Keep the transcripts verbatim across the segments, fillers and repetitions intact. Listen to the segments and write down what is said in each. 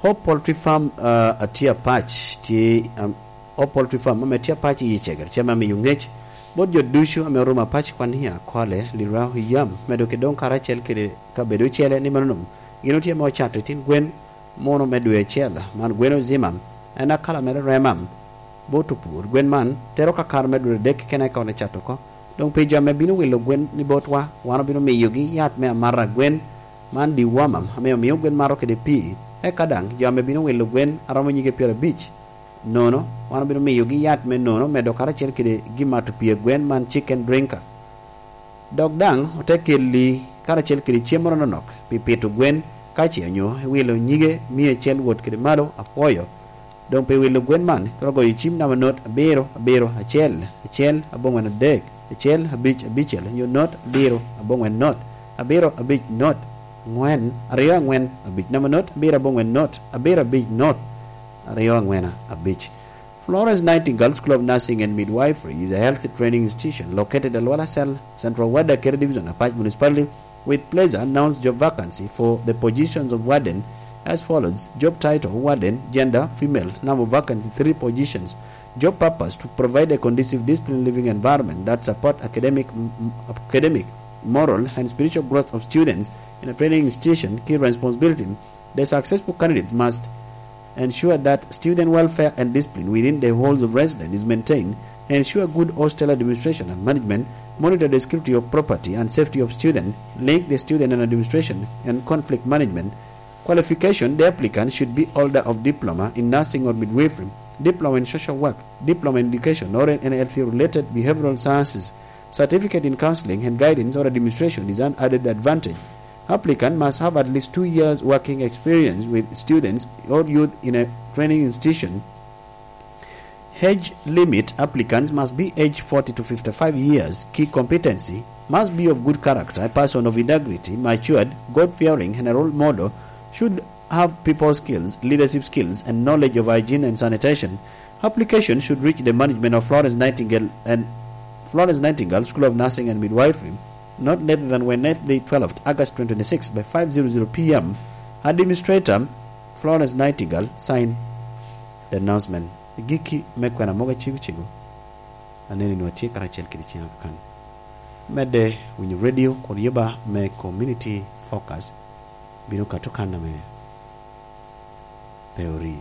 Hope Poultry Farm, ah, a tye Apac, tye, am, Hope Poultry Farm ame tye Apac i Icegere tye ame amiyo ŋec bot jo ducu ame orumo Apac kwan i Akole, Lira, Oyam, medo ki doŋ karacel kede kabedo ocele ni mano gin otye ame ocato itin gwen muno me dwe acel. Man gwen ozima, en akala mere remam. Bot opur gwen man tero kakare me dwe adek keken eka ocato oko. Doŋ pi jo ame bino wilo gwen ni botwa, wan obino miyogi yat me amata gwen man, dewormer, ame omio gwen mato kede pii. Eka daŋ jo ame bino wilo gwen a romo nyige pyerabic nono, wan obino miyogi yat me nono medo karacel kede gin mato pii a gwen man, chicken drinker. Dok daŋ ote kelli karacel kede cem moro anonok pi pito gwen, ka ce onyo iwilo nyige mia acel wot kede malo, apwoyo. Doŋ pi wilo gwen man, itwero goyo cim namba not abiro abiro acel acel aboŋwen adek acel abic abicel, onyo not abiro aboŋwen not abiro abic not ŋwen aryo aŋwen abic, namba not abiro aboŋwen not abiro abic not aryo aŋwen abic. Florence Nightingale School of Nursing and Midwifery is a health training institution located at Luala Cell, Central Ward, Akere Division, Apac Municipality, with pleasure announce job vacancy for the positions of warden as follows. Job title: warden. Gender: female. Number of vacancy: three positions. Job purpose: to provide a conducive disciplined living environment that support academic, m-, m-, academic, moral, and spiritual growth of students in a training institution. Key responsibility: the successful candidates must ensure that student welfare and discipline within the halls of residence is maintained, ensure good hostel administration and management, monitor the security of property and safety of student, link the student and administration, and conflict management. Qualification: the applicant should be holder of diploma in nursing or midwifery, diploma in social work, diploma in education or in health related behavioral sciences. Certificate in counseling and guidance or administration is an added advantage. Applicant must have at least two years working experience with students or youth in a training institution. Age limit: applicants must be aged forty to fifty-five years. Key competency: must be of good character, a person of integrity, matured, God-fearing, and a role model, should have people skills, leadership skills, and knowledge of hygiene and sanitation. Application should reach the management of Florence Nightingale and Florence Nightingale School of Nursing and Midwifery not later than Wednesday, twelfth August twenty twenty-six, by five zero zero p m. Administrator, Florence Nightingale, sign the announcement. Giki me kwena mogo acego cego. Aneni nwa tye karacel kede ciŋa kakan. Medde winyo radio kun yeba me Community Focus bino kato kan ame pe ori.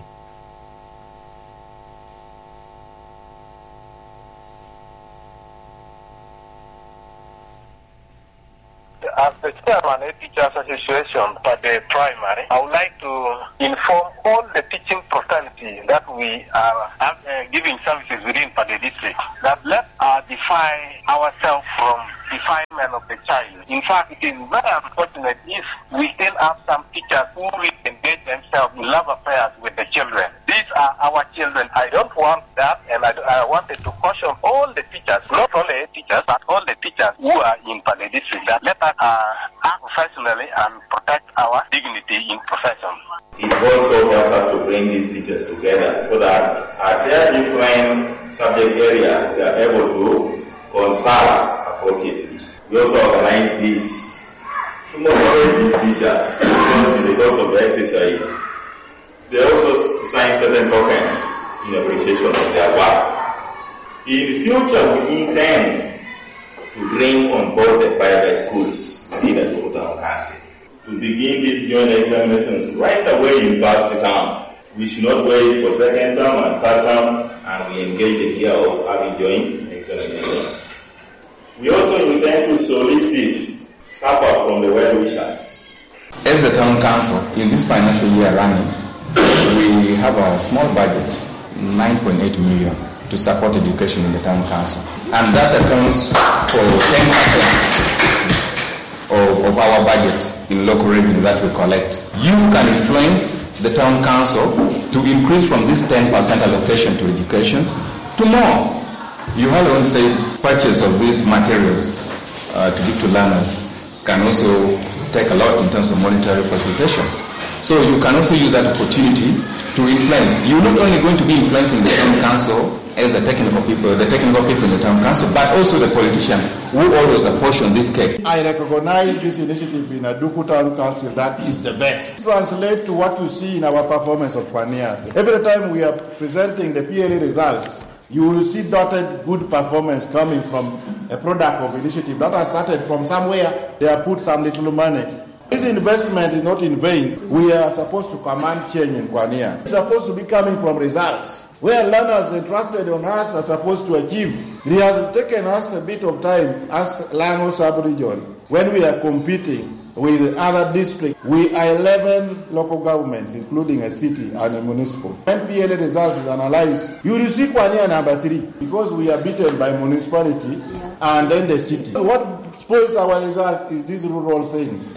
As the chairman of Teachers Association for the primary, I would like to inform all the teaching fraternity that we are, uh, giving services within Pader district that let us defy ourselves from defilement of the child. In fact, it is very unfortunate if we still have some teachers who really engage themselves in love affairs with the children. These are our children. I don't want that, and I, I wanted to caution all the teachers, not only teachers, but all the teachers who are in Pader district, that let us, uh, act professionally and protect our dignity in profession. It also helps us to bring these teachers together so that as there are different subject areas, they are able to consult appropriately. We also organize this to motivate these teachers because in the course of the exercise, they also s-, sign certain tokens in appreciation of their work. In the future, we intend to bring on board the private schools within the Town Council to begin these joint examinations right away in first term. We should not wait for second term and third term, and we engage the idea of having joint examinations. We also intend to solicit support from the well-wishers. As the town council, in this financial year running, we have a small budget, nine point eight million, to support education in the town council. And that accounts for ten percent of, of our budget in local revenue that we collect. You can influence the town council to increase from this ten percent allocation to education to more. You have only said purchase of these materials, uh, to give to learners can also take a lot in terms of monetary facilitation. So you can also use that opportunity to influence. You're not only going to be influencing the town council as the technical people, the technical people in the town council, but also the politician who always apportion this cake. I recognize this initiative in Aduku Town Council that is the best. Translate to what you see in our performance of Kwania. Every time we are presenting the P L A results, you will see dotted good performance coming from a product of initiative that has started from somewhere. They have put some little money. This investment is not in vain. We are supposed to command change in Kwania. It's supposed to be coming from results. Where learners entrusted on us are supposed to achieve. It has taken us a bit of time as Lango sub-region when we are competing with other districts. We are eleven local governments, including a city and a municipal. When P L A results is analyzed, you will see Kwania number three because we are beaten by municipality and then the city. What spoils our result is these rural things.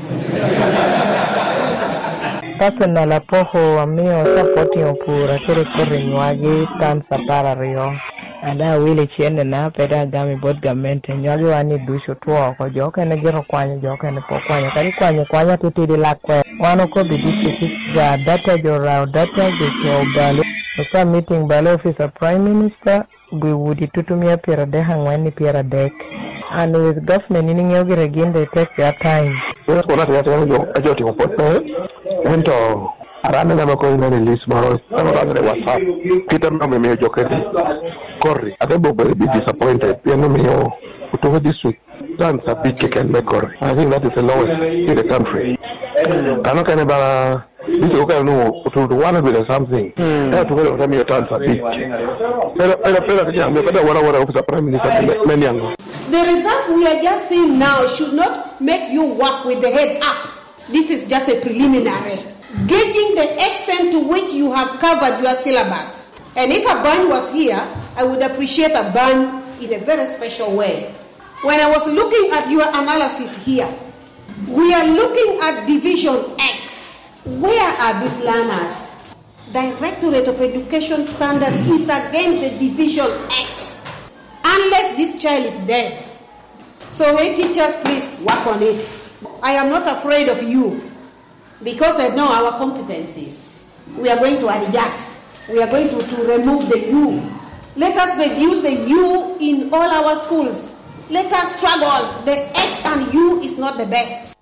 Personal apoko amio supporting opura kede koti nywagi times apar aryo. Ada awilo cennena, pe dok agamo i bot gamente. Nywagi wan ni ducu otwo oko, jo okene gire okwanyo, jo okene pe okwanyo. Kadi kwanyo kwanya titidi lak kwer. Wan okobo i district ga data, jo orao data, jo ocoo balo. Osubmitting balo office of Prime Minister, gwi udi tutumia pyeradek angwen i pyeradek. And with government, in iŋeo gire gin they take their time. Response atir atir jo, ajo timo pwod pe, ento aran ame ame kono ineno i list moro, ame oranere i WhatsApp. Kit ame omio jo kede koti, ate bok bedo bi disappointed, pien omio Otuko district tons abic keken me koti. I think that is the lowest in the country. Kano kene ba district okene nu otuno one hundred and something. Ento Otuko dok te miyo tons abic. Pero, pero, pero, kanya, miyo kada wara wara office of Prime Minister me, me niaŋ. The results we are just seeing now should not make you work with the head up. This is just a preliminary, gauging the extent to which you have covered your syllabus. And if Abany was here, I would appreciate Abany in a very special way. When I was looking at your analysis here, we are looking at Division X. Where are these learners? Directorate of Education Standards is against the Division X. Unless this child is dead. So, hey, teachers, please work on it. I am not afraid of you because I know our competencies. We are going to adjust. We are going to, to remove the U. Let us reduce the U in all our schools. Let us struggle. The X and U is not the best.